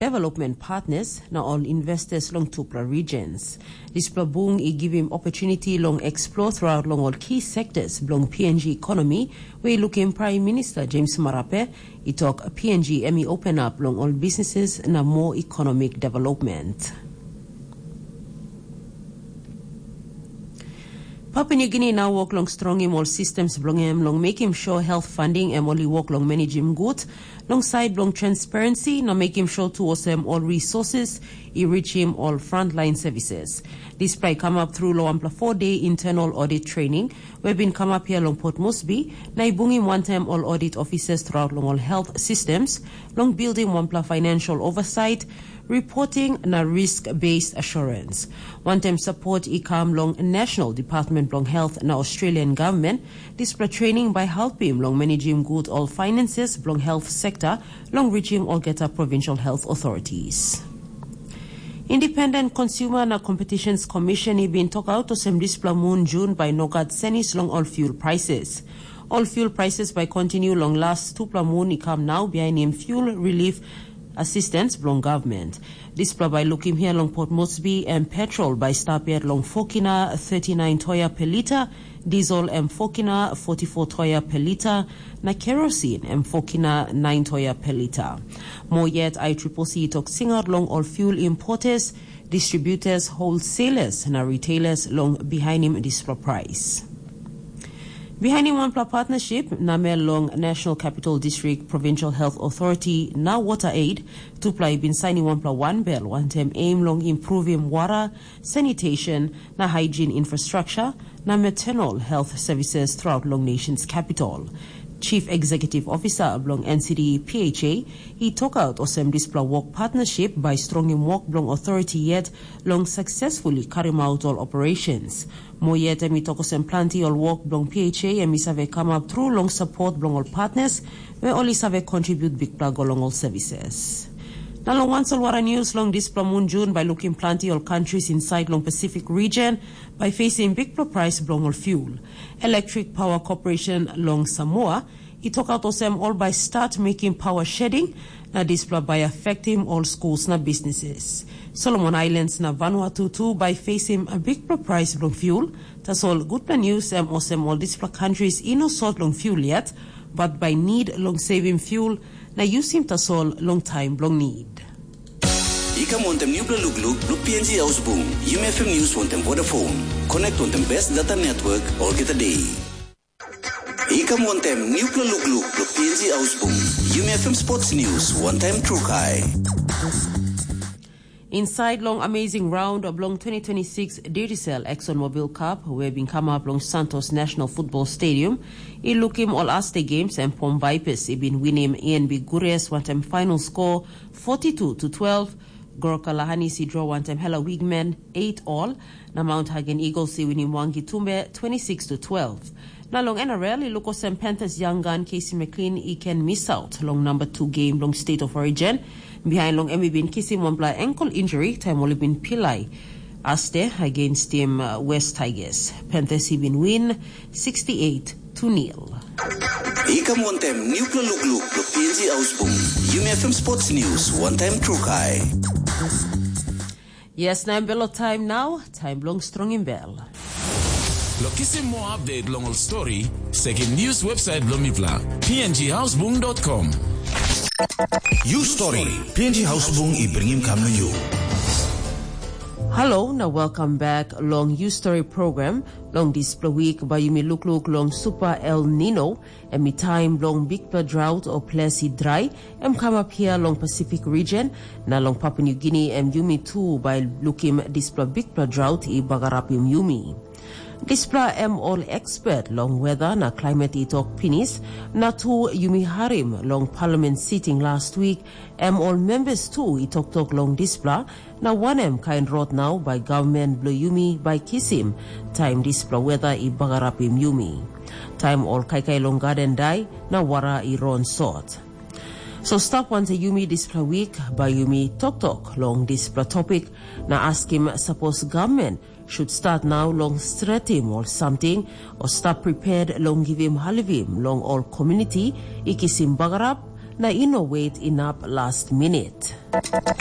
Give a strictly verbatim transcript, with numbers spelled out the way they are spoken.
development partners na ol investors long tupela regions. Dispela bung i givim opportunity long explore throughout long ol key sectors bilong P N G economy, where i lukim Prime Minister James Marape i tok P N G em i open up long ol businesses na more economic development. Papua New Guinea nau wok long strongim ol systems bilong em long mekim sure health funding em ol i wok long managim gut, long side bilong transparency na mekim sure tu olsem ol resources i reachim ol frontline services. Dispela i come up through long wanpela four-day internal audit training we bin come up here long Port Moresby, na i bungim wantaim ol audit officers throughout long ol health systems, long building wanpela financial oversight, reporting na risk-based assurance. Wantaim support i kam long National Department bilong Health na Australian Government, dispela training bai helpim long managim gut ol finances bilong health sector long reachim olgeta provincial health authorities. Independent Consumer na Competitions Commission i bin tokaut olsem dispela mun Jun bai no gat senis long ol fuel prices. Ol fuel prices bai kontinu long las tupela mun i kam nau bihainim fuel relief assistance bilong government. Dispela bai lukim hia long Port Moresby em petrol bai stap yet long fokina thirty-nine toia per lita, diesel em fokina forty-four toia per lita, na kerosene em fokina nine toia per lita. Mo yet, I triple C tok singaut long ol fuel importers, distributors, wholesalers na retailers long bihainim dispela price. Bihainim wanpela partnership namel long National Capital District Provincial Health Authority na Water Aid, tupela i bin sainim wanpela wanbel wantaim aim long improvim wara, sanitation na hygiene infrastructure na maternal health services throughout long nation's capital. Chief Executive Officer bilong N C D P H A i tokaut olsem dispela wok partnership bai strongim wok bilong authority yet long successfully karim out ol operations. Mo yet em i tok olsem planti ol wok bilong P H A em i save kamap tru long support bilong ol partners, we ol i save contribute bikpela go long ol services. Na long wan solwara news long dispela mun Jun bai lukim planti ol countries inside long Pacific region bai facing bikpela price bilong ol fuel. Electric Power Corporation long Samoa i tokaut olsem ol bai start making power shedding, na dispela bai affectim ol schools na businesses. Solomon Islands na Vanuatu tu bai facing a bikpela price bilong fuel. Tasol gutpela news em olsem ol dispela countries i no sot long fuel yet, but bai need long saving fuel na using tasol long time bilong need. I kam wantem nupela lukluk bilong P N G Hausbung, Yumi F M News wantem Vodafone. Connect wantem best data network olgeta day. I kam wantem nupela lukluk bilong P N G Hausbung, Yumi F M Sports News wantem Trukai. Inside long amazing round bilong twenty twenty-six Digicel ExxonMobil Cup, we bin kamap long Santos National Football Stadium, i lukim ol aste games em Pom Vipers i bin winim E N B Gures wantem final score forty-two to twelve, Goroka Lahanis i draw wantem Hela Wigmen eight all, na Mount Hagen Eagles i winim Wangi Tumbe twenty-six to twelve. Na long N R L i luk olsem Panthers young gun Casey McLean i ken misaut long number two game long State of Origin, behind long em i bin kisim wanpela ankle injury taim ol i bin pilai aste against team uh, West Tigers. Panthers i bin win sixty-eight to nil. I kam wantem nupela lukluk bilong P N G Hausbung, Yumi F M Sports News wantem Trukai. Yes, na em belo time now, time bilong strongim bel. Lo kisim mo update long ol story, sekim news website bilong mipela, P N G Hausbung dot com. You story, P N G Hausbung i bringim kam na you. Hello, na welcome back long You Story program. Long dispela week, bai yumi lukluk long Super El Nino, em i taim bilong bikpela drought o ples i drai, em kamap hia long Pacific region, na long Papua New Guinea em yumi tu bai lukim dispela bikpela drought i bagarapim yumi. Dispela em ol expert long weather na climate i tok pinis, na tu yumi harim long parliament sitting last week, em ol members tu i toktok long dispela, na wanem kain rot nau bai gavman bilong yumi bai kisim, taim dispela weta i bagarapim yumi. Taim ol kaikai long gaden dai, na wara i ron sot. So stap wantaim yumi dispela wik, bai yumi toktok long dispela topik, na askim sapos gavman should start nau long stretim ol samting, o stap prepared long givim halivim long ol komuniti i kisim bagarap, na i no wet inap last minute.